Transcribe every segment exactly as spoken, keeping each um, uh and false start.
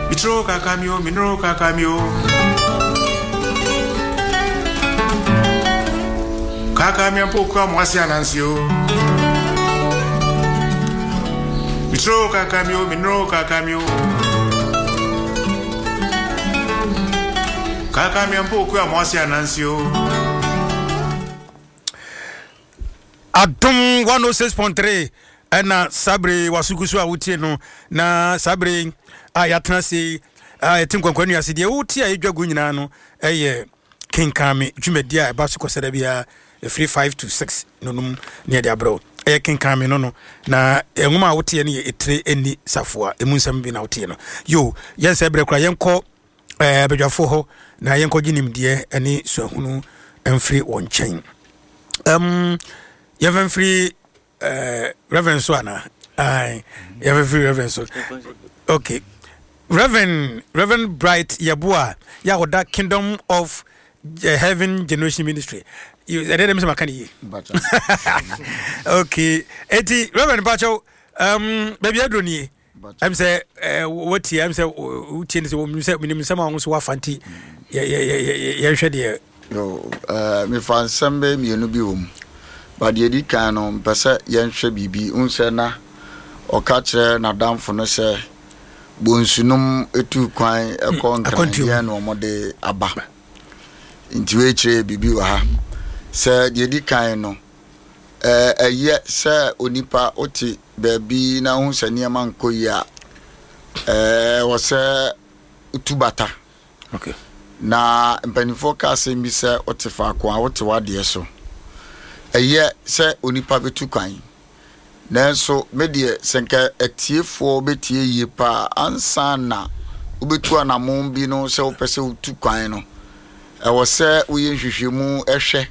Mitro kakamio, minro kakamio. Kakamia mpoku amwasi anansio. Mitro kakamio, minro kakamio. Kakamia mpoku amwasi anansio. Adom one oh six point three ɛna sabre wasugu so a wotie no na sabre a yɛatena se a yɛte nkwankwa nnuase deɛ wotie a yɛdwa gu nyinaa no ɛyɛ Kenkame dwumadi a ɛba so kɔsɛda biara ɛfiri five to six no nom ne yɛde abrɛ wo. Ɛyɛ Kenkame no no na nwoma a woteɛ no yɛ Ɛtire Ɛnni Safoa. Ɛmu nsɛm bi na woteɛ no yo. Yɛnsɛ berɛ kora yɛnkɔ eh, badwafoɔ hɔ na yɛnkɔgye nimdeɛ ne suahunu mfiri wɔn nkyɛn. um, yɛmfa mfiri uh, Reverend so ana? Aye, yɛmfa mfiri Reverend so. Okay, Reverend Reverend Bright Yeboah yɛ a ɔda Kingdom of eh, Heaven Generation Ministry. ɛdɛ dɛ mesɛ maka ne yie. Okay, eti Reverend Pakyɛw, um, baabi aduro nie ɛm sɛ eh, watie ɛm sɛ wotie ne sɛ wɔnim sɛ menim nsɛm a wo nso woafa nti yɛ- yɛ- yɛ- yɛ- yɛnhwɛ deɛ. Yo, eh, mefa nsɛm bɛyɛ mmienu bi wɔ mu, but deɛ ɛdi kan no, mpɛ sɛ yɛnhwɛ biribi wohu sɛ na ɔka kyerɛ n'adamfo no sɛ bonsunom ɛtu kwan ɛkɔ akwantuo. Nkrandeɛ na ɔmɔde aba, nti wei kyerɛ biribi wɔ ha sɛ deɛ ɛdi kan no, eh, ɛyɛ sɛ onipa wote baabi na wohu sɛ nneɛma nkɔ yie a, eh, ɛwɔ sɛ wotu bata. Okay na mpanimfoɔ ka asɛm bi sɛ wote faako a wote w'adeɛ so. Ɛyɛ sɛ onipa bɛtu kwan, nanso me deɛ, sɛ nka atiefoɔ bɛtie yie paa ansa na wobɛtu anammɔn bi no, sɛ wopɛ sɛ wotu kwan no, ɛwɔ sɛ woyɛ nhwehwɛmu ɛhwɛ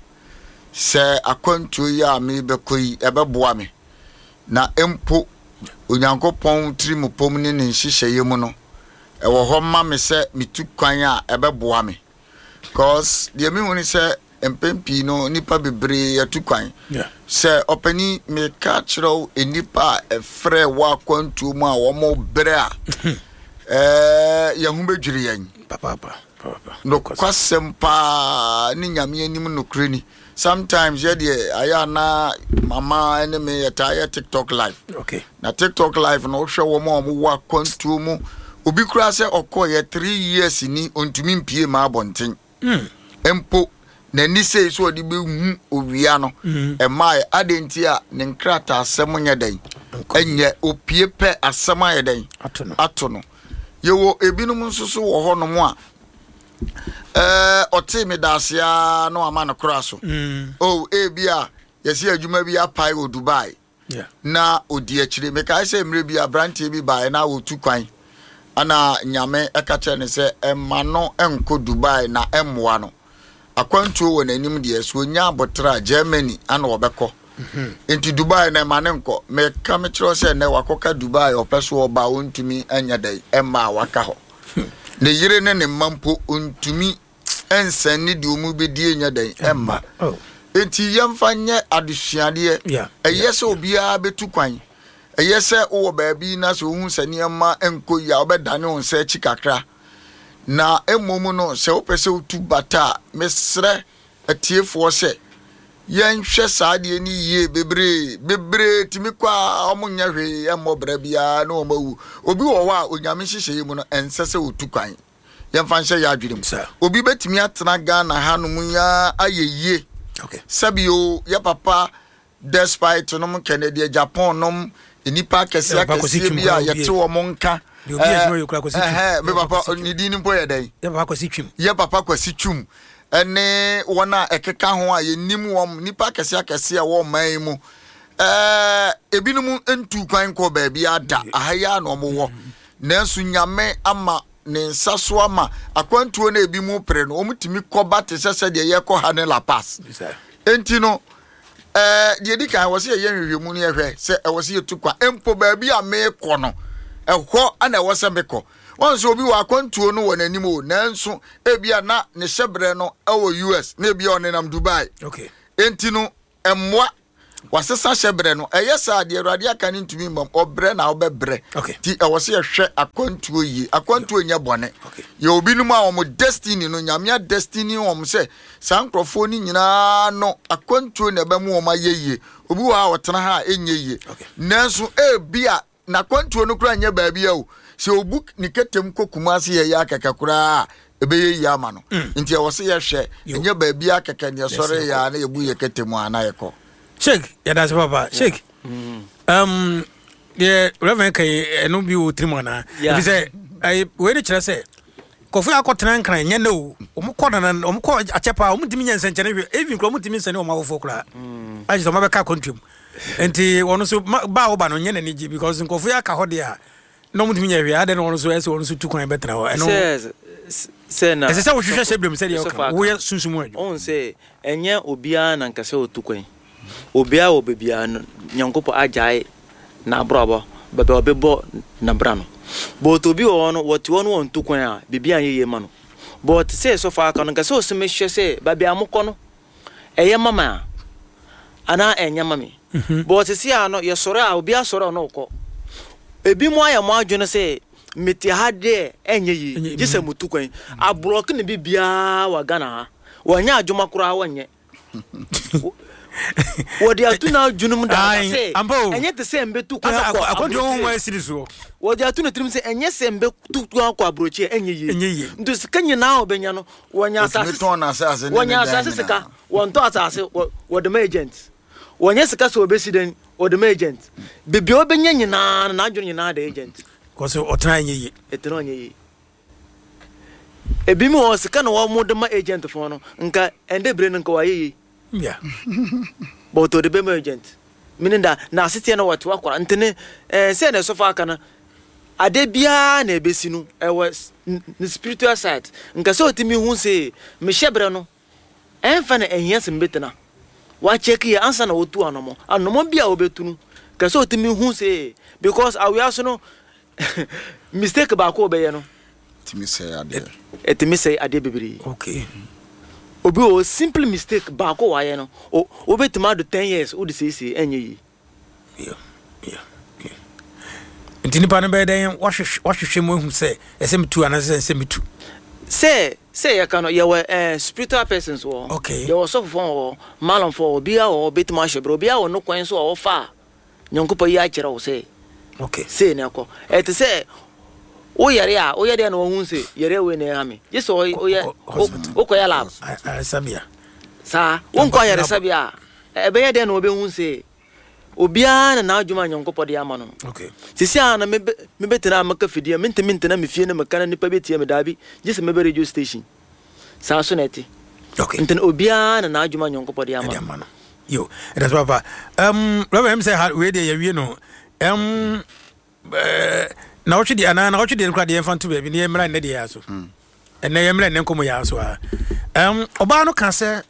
sɛ akwantuo yi a mebɛkɔ yi ɛbɛboa me, na mpo Onyankopɔn tirimupom ne ne nhyehyɛeɛ mu no ɛwɔ hɔ ma me sɛ metu kwan a ɛbɛboa me, cause deɛ mehu ne sɛ mpɛn pii no nipa bebree yɛtu kwan. Yeah. Sɛ ɔpani meka kyerɛ wo, nnipa a ɛfrɛ wɔ akwantuo mu a wɔn berɛ a ɛɛ yɛn ho bɛdwiri yɛn. Papaapa, papaapa. Nokwasɛm paa ne Nyame anim nokorɛ ni. Sometimes yɛdeɛ ayɛ ana mama ne me yɛtaa yɛ TikTok live. Okay na TikTok live no, wohwɛ wɔn a wɔwɔ akwantuo mu, obi koraa sɛ ɔkɔɔyɛ three years ni, ɔntumi mpie ma abɔnten mpo n'ani sei so ɔde bɛhu owia no ɛmaa ade nti a ne nkrataa asɛm nyɛ dɛn ɛnyɛ opie pɛ asɛm ayɛ dɛn ato no. Ato no. Yɛwɔ ebinom nso so wɔ hɔnom a ɛɛ ɔtee me daase a na wama no kora so. Mm. O ebi a yɛsi adwuma bi apae wɔ Dubai Yeah. na odi akyire. Mekae sɛ mmerɛ bi aberanteɛ bi baeɛ na wɔtu kwan ana Nyame ɛka kyerɛ no sɛ ɛma no nkɔ Dubai na ɛmmoa no. Akwantuo wɔ n'anim deɛ so onya abotrɛ a Germany ana ɔbɛkɔ, nti Dubai na ɛma ne nkɔ. Meka mekyerɛ sɛ nnɛ wakɔka Dubai, ɔpɛ so ɔba a ɔntumi nyɛ dɛn ɛmma a waka hɔ ne yere ne ne mma mpo ɔntumi ɛnsɛn ne deɛ ɔmu bɛdie nyɛ dɛn ɛmma. Oh. Nti yɛmfa nyɛ adesuadeɛ. Yeah. Ɛyɛ sɛ obiara bɛtu kwan, ɛyɛ sɛ wowɔ baabi na sɛ wohu sɛ nneɛma nkɔ yi a, wobɛdane wo nsa akyi kakra. Na mmom no, sɛ wopɛ sɛ wotu bata a, mesrɛ atiefoɔ sɛ yɛnhwɛ saa adeɛ no yie. Bebree bebree tumi kɔ a ɔmo nyɛ hwee ɛmmɔ brɛ biara na ɔmo awu. Obi wɔ hɔ a Onyame nhyehyɛeɛ mu no ɛnsɛ sɛ otu kwan. Yɛmfa nhyɛ yɛ adwene mu. Sir. Obi bɛtumi atena Ghana hanom yaa ayɛ yie. Okay. Sɛbio yɛ papa Despite nom, Kennedy Agyapong nom, nipa akɛseɛ Yɛ papa Kwasi akɛseɛ Twum bi a koraa yɛte obi wɔn nka. Deɛ obi adwuma yɛ koraa Kwasi Twum. Ɛhɛ, me Yɛ papa papa Kwasi Twum. ne din no mpo yɛ dɛn? Yɛ papa Kwasi Twum. Yɛ papa Kwasi Twum ɛne wɔn a ɛkeka ho a yɛnim wɔn, nipa akɛseɛ akɛseɛ a wɔn ɔman yi mu, ɛɛ ebinom ntu kwan kɔ baabi ada aha yi a na wɔn wɔ, nanso Nyame ama ne nsa so ama akwantuo no ebi mu pere no, wɔn tumi kɔba te sɛ sɛdeɛ yɛkɔ ha ne La Paz. Sir. Enti no, ɛɛ deɛ di kan wɔ sɛ yɛyɛ nhwehwɛmu no, yɛhwɛ sɛ ɛwɔ sɛ yɛtu kwan mpo baabi a meekɔ no, ɛhɔ ana ɛwɔ sɛ mekɔ. Wɔn nso obi wɔ akwantuo no wɔ n'anim o, nanso ebia na ne hyɛbrɛ no ɛwɔ U S na ebia ɔnenam Dubai. Okay. Enti no ɛmmoa. Wasesa hyɛ berɛ no. Ɛyɛ saa deɛ, Awurade aka no ntumi mmam. Ɔbrɛ na wobɛbrɛ. Okay. Nti ɛwɔ sɛ yɛhwɛ akwantuo yie. Akwantuo nyɛ bɔne. Okay. Yɛ obinom a wɔn destiny no, Nyame a destiny wɔn sɛ saa nkurɔfoɔ no nyinaa no, akwantuo na ɛbɛmu wɔn ayɛ yie. Obi wɔ ha a ɔtena ha a ɛnyɛ yie. Okay. Nanso ebi a n'akwantuo no koraa nyɛ baabi a o. Sɛ obu ne kɛtɛm kɔ Kumase yɛ yɛ akɛkɛ koraa a, ɛbɛyɛ yie ama no. Nti ɛwɔ sɛ yɛhwɛ, ɛnyɛ baabi a kɛkɛ ne yɛsɔre yɛ a na yɛbu yɛ kɛtɛm a na yɛkɔ. Sheik, yɛda ase papa. Sheik, um, deɛ Reverend ka yi, ɛno bi wɔ tirim anaa? Yeah. Ɛfiri sɛ ɛyɛ- wei ne kyerɛ sɛ kɔfo yɛ akɔtena Nkran nyɛ nɛ o, ɔmo kɔ nana, ɔmo kɔ akyɛ paa, ɔmo ntumi nyɛ nsɛnkyɛnne hwɛ, even kora ɔmo ntumi nsɛne ɔmo awofoɔ koraa agye sɛ ɔmo abɛka akɔntuam. Nti ɔno nso ma- ba a woba no nyɛ n'ani gye because nkɔfo yɛ aka hɔ deɛ a na ɔmo ntumi nyɛ hwee adɛ na ɔno nso ɛsɛ ɔno nso tu kwan bɛtena hɔ ɛno. Sɛ sɛ na ɛsɛ sɛ wohwehwɛ hyɛ berɛ mu sɛdeɛ Sɔfo woka aka. woyɛ sunsum adwuma. Ɔhu sɛ ɛnyɛ obiara na nkasɛ ɔtu kwan. Obiara wɔ baabiara no, Nyankopɔn agyae n'abrabɔ baabi a ɔbɛbɔ n'abra no, but obi wɔ hɔ no, wɔte hɔ no, wɔntu kwan a biribi anyɛ yie ma no. But sɛ sɔfo aka no, nkasɛ ɔsɛ mehwɛ sɛ baabi a mokɔ no ɛyɛ mama a anaa ɛnyɛ ma me. But sisi a no, yɛsɔre a, obi asɔre a ɔno ɔkɔ. Ebi mu ayɛ mo adwene sɛ mete ha deɛ ɛnyɛ yie, gye sɛ mutu kwan. Aborɔke ne bi biara wɔ Ghana ha, wɔnyɛ adwuma koraa, wɔnyɛ wɔde ato n'adwene mu dada Aye, sɛ ampa o. Ɛnyɛ te sɛ mbɛtu kwan Asa akɔ akwantuo ho aburokyire. asiri soɔ. Wɔde ato ne tirim sɛ ɛnyɛ sɛ mbɛtu kwan akɔ aburokyire ɛnyɛ yie. Ɛnyɛ yie. Nti sika nyinaa a ɔbɛnya no, wɔnya Otumi asase tɔn n'asase ne ne wɔnya dan asase nyinaa. Sika wɔntɔ asase, wɔ- wɔde ma agent. Wɔnyɛ sika sɛ wɔbɛsi dan, wɔde ma agent. Beebi a wɔbɛnya nyinaa no, n'adwene nyinaa da agent. Kɔsɛ ɔtena ɛnyɛ yie. Ɛtena ɔnyɛ yie. Ebi mu wɔ sika na wɔn de ma agent foɔ no, nka ɛnde bere no nka wɔayɛ yie. Yeah. But ɔde bɛma agent, meaning that na aseteɛ no wɔte wakora. Nti ne ɛɛ sɛ na ɛsɔfo aka no, ade biara na ebesi no ɛwɔ s- n- ne spiritual side. Nka sɛ ɔtumi hu sɛ mehyɛ berɛ no ɛnfa na ɛhia sɛ mbɛtena wakyɛke yɛ ansa na wɔtu anɔmɔ anɔmɔ bi a wɔbɛtu no. Nka sɛ ɔtumi hu sɛ because awia so no, mistake baako a ɔbɛyɛ no tumi sɛe adeɛ. Ɛtumi sɛe adeɛ bebree. Okay. Obi wɔ hɔ, simple mistake baako wayɛ no, o wobɛtumi ado ten years wode seesie ɛnyɛ yie. Yeah. Yeah. Yeah. Nti nipa no bɛyɛ dɛn wahwehwɛ wahwehwɛ mu ehu sɛ ɛsɛ metu anaasɛ ɛsɛ metu? sɛ sɛ yɛka no, yɛwɔ eh, spiritual persons wɔ hɔ. Okay. Yɛwɔ sɔfofoɔ wɔ hɔ, malɔmfoɔ wɔ hɔ, obiara wɔ hɔ bɛtumi ahyɛ berɛ. Obiara wɔ no kwan so a wɔfa a Nyankopɔn yi akyerɛ wo sɛ Okay. sei na ɛkɔ. Ɛte sɛ woyɛre a, woyɛ deɛ na wɔhu sɛ yɛre wei na ɛha me, gye sɛ woyɛ Kɔ- kɔ hospital. wokɔyɛ lab. Ayaresabea. Saa wonkɔ ayaresabea a, ɛbɛyɛ dɛn na wɔbɛhu sɛ obiara na n'adwuma a Nyankopɔn de ama no no? Okay. Sisi a na mebe mebɛtena a meka fidie, mentumi ntena me fie na meka na nipa bɛtie me, daabi, gye sɛ mɛbɛ radio station. Saa so na ɛte. Okay. Nti no, obiara na n'adwuma a Nyankopɔn de ama ɛde no. Ama no yo, ɛda so papa. um, Reverend, m sɛ ha wei deɛ yɛwie no, um, eh, na wɔtwe deɛ anaa na wɔtwe deɛ no koraa deɛ, yɛmfa nto baabi ne yɛmmra nnɛ deɛ yɛ so. Ɛnnɛ yɛmmra nnɛ nkɔmmɔ yɛ so a, um, ɔbaa no ka sɛ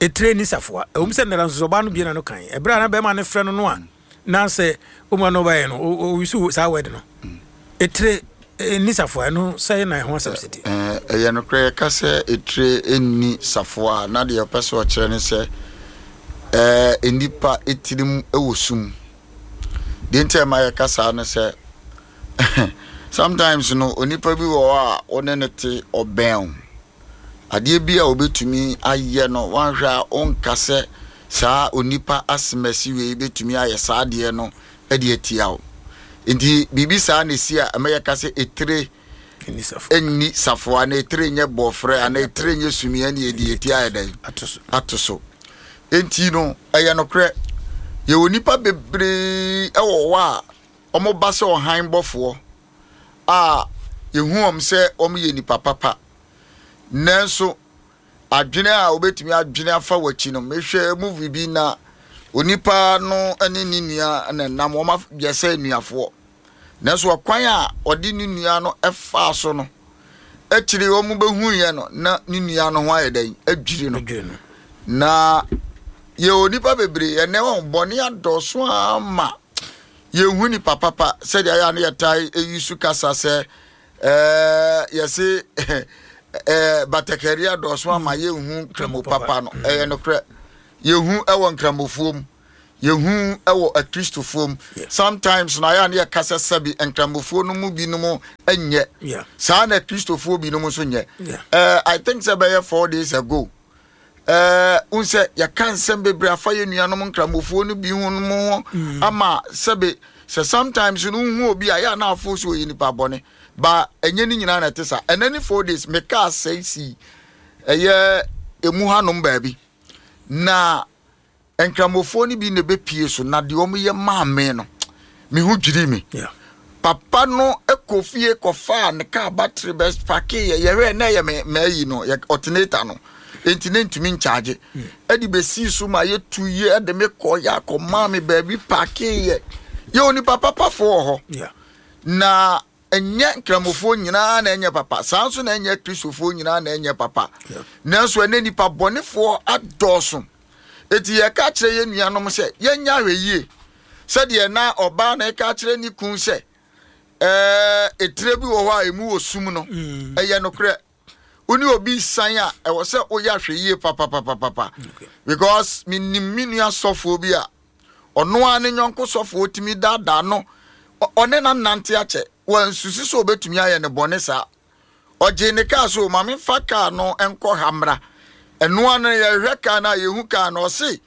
ɛtire ni safoa. Ɛwom sɛ nnɛra nso so ɔbaa no bie na no kan ɛberɛ a na bɛrima no frɛ no no a na sɛ ɔmu no ɔbaeɛ no, ɔwisu saa word no, ɛtire ni safoa. Ɛno sɛ na ɛho asɛm sɛti? Ɛɛ, ɛyɛ nokorɛ. Yɛka sɛ etire nni safoa a, na deɛ ɔpɛ sɛ ɔkyerɛ ne sɛ ɛɛ nnipa etirim wɔ sum. Deɛ nti a ɛma yɛka saa ne sɛ sometimes no, onipa bi wɔ hɔ a wo ne no te, ɔbɛn wo, adeɛ bi a obetumi ayɛ no, wanhwɛ a ɔnka sɛ saa onipa asemasi wei betumi ayɛ saa adeɛ no de atia wo. Nti biribi saa na esi a ɛma yɛka sɛ etire ni safoa. Ɛnni safoa na etire nyɛ bɔɔfrɛ anaa etire nyɛ sumia ne yɛde yɛti ayɛ dɛn? Ato so. Ato so. Enti no, ɛyɛ nokorɛ, yɛwɔ nipa bebree ɛwɔ hɔ a wɔn ba sɛ ɔhan bɔfoɔ a yɛhu wɔn sɛ wɔn yɛ nipa papa, nanso adwene a wobɛtumi adwene afa w'akyi no, mehwɛ movie bi na onipa no ne ne nua na nam, wɔn ayɛ sɛ nnuafoɔ, nanso ɔkwan a ɔde ne nua no ɛfaa so no, akyire wɔn bɛhu yɛ no na ne nua no ho ayɛ dɛn? Adwiri no. Adwiri no. Na yɛwɔ nipa bebree ɛnɛ, wɔn bɔne adɔso ama yɛhu nipa papa. Sɛdeɛ ayɛ a no yɛtae ɛyi so kasa sɛ ɛɛ yɛse ɛɛ batakari adɔso ama yɛnhu nkramo papa no, ɛyɛ nokorɛ. Yɛhu ɛwɔ nkramofoɔ mu, Yɛhu ɛwɔ akristofoɔ mu. Yeah. Sometimes na ayɛ a ne yɛka sɛ sɛbi nkramofoɔ no mu binom nyɛ Yeah. saa, na akristofoɔ binom nso nyɛ. Yeah. Eh, I think sɛ bɛyɛ four days ago, eh, n sɛ yɛka nsɛm bebree afa yɛ nuanom nkramofoɔ no bi ho no mu ho ama sɛbe sɛ sometimes no wohu obi a yɛ a na afo so ɔyɛ nipa bɔne ba, ɛnyɛ ne nyinaa na ɛte saa. Ɛnɛ ne four days mekaa sɛe sii ɛyɛ emu hanom baabi na nkramofoɔ no bi na ɛbɛpie so na deɛ ɔmoyɛ maa me no, me ho dwiri me. Yeah. Papa no kɔ fie kɔfaa ne kaa battery bɛ park yɛ, yɛhwɛ na ɛyɛ me maayi no, yɛ alternator no enti ne ntumi nkyagye, ɛde bɛsii so ma yɛtu yie, ɛde me kɔ yɛ akɔmaa me baabi park yɛ. Yɛ onipa papafoɔ wɔ hɔ. Yeah. Na ɛnyɛ nkramofoɔ nyinaa na ɛnyɛ papa saa nso, na ɛnyɛ kristofoɔ nyinaa na ɛnyɛ papa. Yeah. Nanso ɛnɛ nipa bɔnefoɔ adɔɔso, eti yɛka kyerɛ yɛn nuanom sɛ yɛnyɛ ahwɛ yie, sɛdeɛ na ɔbaa na ɛka kyerɛ ne kun sɛ ɛɛ etire bi wɔ hɔ a emu wɔ sum no. Ɛyɛ nokorɛ, wo ne obi san a, ɛwɔ sɛ woyɛ ahwɛ yie papapapapa, because menim me nua sɔfoɔ bi a ɔno ara ne nyɔnko sɔfoɔ tumi daadaa no. Ɔ- ɔne na nante akyɛ, wansusu sɛ obɛtumi ayɛ ne bɔne saa. Ɔgye ne kaa so, maame fa kaa no nkɔ ha mmra. Ɛnoa no yɛhwɛ kaa no a yɛhu kaa no, ɔse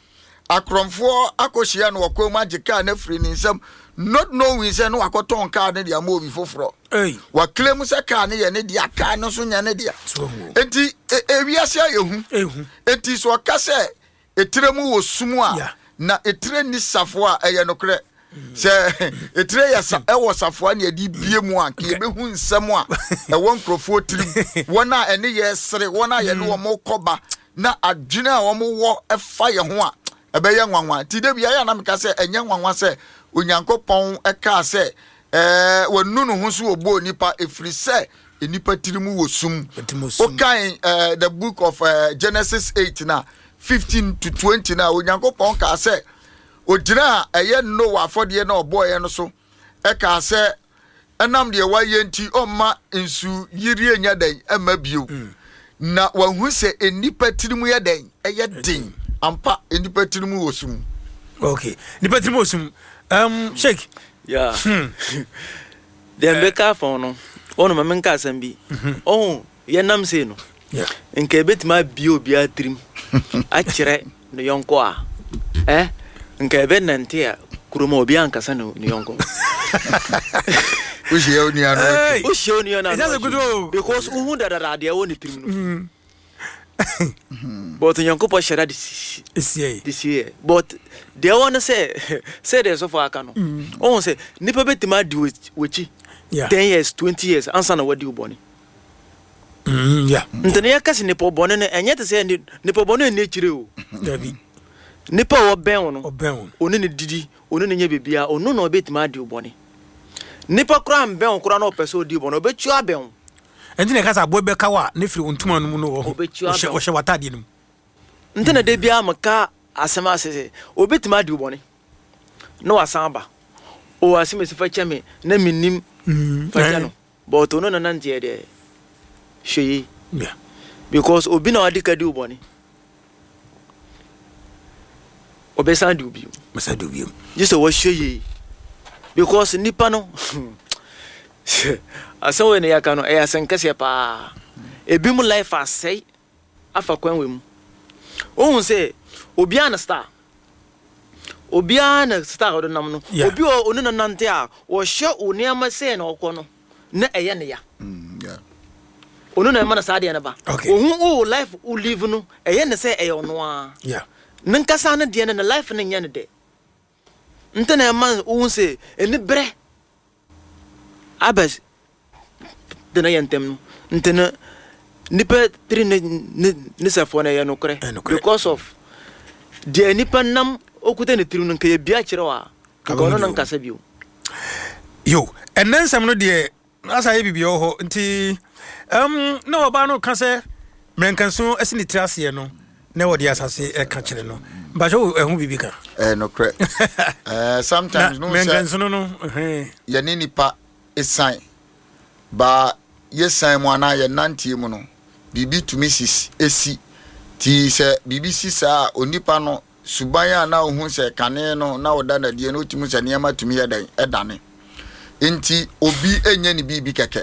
akorɔmfoɔ akɔhyia no wɔkɔn mu agye kaa no afiri ne nsam, not knowing sɛ ne wakɔtɔn kaa no de ama obi foforɔ. Hey. Wakile mu sɛ kaa no yɛ ne dea, kaa no nso nyɛ ne dea. So ahu. Enti e- ewiase ayɛ hu. Ehu. Enti sɛ ɔka sɛ etire mu wɔ sum a, Yeah. na etire ni safoa a, ɛyɛ nokorɛ sɛ etire yɛ sa ɛwɔ safoa ne yɛde bie mu a, nka yɛbɛhu nsɛm a ɛwɔ nkurɔfoɔ tirim, wɔn a ɛne yɛ sere, wɔn a yɛne wɔn kɔba, na adwene a wɔn wɔ ɛfa yɛn ho a, ɛbɛyɛ nwanwa. Nti de bi ayɛ anam ka sɛ ɛnyɛ nwanwa sɛ Onyankopɔn ɛkaa sɛ ɛɛ wɔnu ne ho so wɔ nipa, efiri sɛ nipa tirim wɔ sum. Tirim wɔ sum. Wokan uh, the book of uh, Genesis eight na fifteen to twenty na Onyankopɔn kaa sɛ ogyina a ɛyɛ Noa afɔdeɛ na ɔbɔɔyɛ no so, ɛkaa sɛ ɛnam deɛ wayɛ nti ɔmma nsu yirie nyɛ dɛn ɛmma bio, na wahu sɛ nnipa tirim yɛ dɛn ɛyɛ den ampa, nnipa tirim wɔ sum. Okay, nipa tirim wɔ sum. um, sheik Yeah, deɛ mbɛka afa ho no, ɔno ma menka asɛm bi. Ɔho yɛnam sei no, Yeah. nka ɛbɛtumi abie obiara tirim akyerɛ ne yɔnko a, ɛ nka ɛbɛnante a kurom a obiara nkasa ne ne yɔnko. Wohyia wo nua no. Hey! Wohyia wo nua no a, Ɛnyɛ sɛ good o. Because wohu dadada deɛ ɛwɔ ne tirim no, but Onyankopɔn hyɛ da de si esie this year, but deɛ ɛwɔ no sɛ sɛdeɛ sɔfo aka no, ɔhu sɛ nipa bɛtumi adi w'akyi- w'akyi Yeah. ten years, twenty years ansa na wadi wo bɔne. Mm, yeah. Nti ne yɛka sɛ nipa bɔne no, ɛnyɛ te sɛ ni- nipa bɔne nni akyire o. Dabi. Nipa a wɔbɛn wo no, Ɔbɛn wo. ɔne ne didi, ɔne ne nyɛ biribiara, ɔno na ɔbɛtumi adi wo bɔne. Nipa koraa mbɛn wo koraa na ɔpɛ sɛ ɔdi wo bɔne, ɔbɛtua abɛn wo. Ɛnti na ɛka sɛ aboa bɛka wo a, ne firi wo ntoma no mu no wɔ hɔ. Ɔbɛtua ɔhyɛ abɛn wo. Ɔhyɛ w'atadeɛ no mu. Nti na da biara meka asɛm ase sɛ obɛtumi adi wo bɔne na wasan aba o, asɛm esi fa kyɛ me na mennim, fa kyɛ no, but ɔno na nanteɛ deɛ, hwɛ yie. Yeah. Because obi na wade ka di wo bɔne, ɔbɛsan di wo bio. Mɛsa de bio. Gye sɛ wɔhwɛ yie, because nipa no asɛm wei ne yɛka no, ɛyɛ asɛm kɛseɛ paa. Ebi mu life asɛe afa kwan wei mu. Wohu sɛ obiara na star, obiara na star a ɔde nam no. Yeah. Obi a ɔne no nante a, wɔhyɛ wo nneɛma sɛ na ɔkɔ no na ɛyɛ ne ya. Mm, yeah. Ɔno na ɛma no saa deɛ no ba. Okay. Ohu wo life wo live no, ɛyɛ ne sɛ ɛyɛ ɔno ara Yeah. ne nkasa no deɛ no, ne life no nyɛ no dɛ. Nti na ɛma wohu sɛ ɛni berɛ aba de na yɛ ntɛm no. Nti no nipa tiri ne ne ne sɛfoɔ no, ɛyɛ nokorɛ. Ɛyɛ nokorɛ. Because of deɛ nipa nam okuta ne tirim no, nka yɛ bia kyerɛ wo a, nka ɔno no nkasa bio. Yo, ɛnɛ nsɛm no deɛ asa yɛ biribi wɔ hɔ. Nti um, na ɔbaa no ka sɛ mmerɛnkanso asi ne tiri aseɛ no na wɔde asase ɛka kyerɛ no. Mpakyɛ wo ɛho biribi ka? Ɛyɛ nokorɛ. Ɛɛ, Na sometimes no sɛ mmerɛnkanso no no ɛhɛn. Yɛne nipa esan baa yɛsan mu anaa yɛnanteɛ mu no, biribi tumi si esi ti sɛ biribi si saa a, onipa no Suban a na wohu sɛ kane no na woda no adie no, wotumi sɛ nneɛma tumi yɛ dɛn ɛdane. Nti obi ɛnyɛ ne biribi kɛkɛ.